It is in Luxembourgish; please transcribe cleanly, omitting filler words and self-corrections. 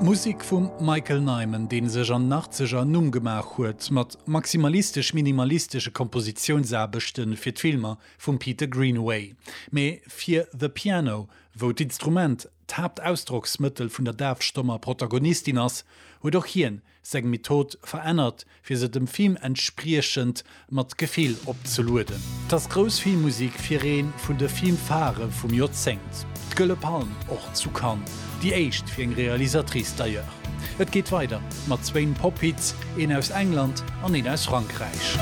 Musek vum Michael Nyman, dee sech an den Achtzeger en Numm gemaach huet mat maximalistesch-minimalistesche Kompositiounsaarbechte fir d'Filmer vum Peter Greenaway. Mee fir The Piano, wou d'Instrument d'Haaptausdrocksmëttel vun der dafstommer Protagonistin ass, huet och hien seng Method verännert, fir se dem Film entspriechend mat Gefill opzelueden. 't ass grouss Filmmusik fir ee vun de Film-Phare vum Joerzéngt, d'Gëlle Palm och zu Cannes, déi éischt fir eng Realisatrice d'ailleurs. Et geet weider mat zwéin Pop-Hits, een aus England an een aus Frankräich.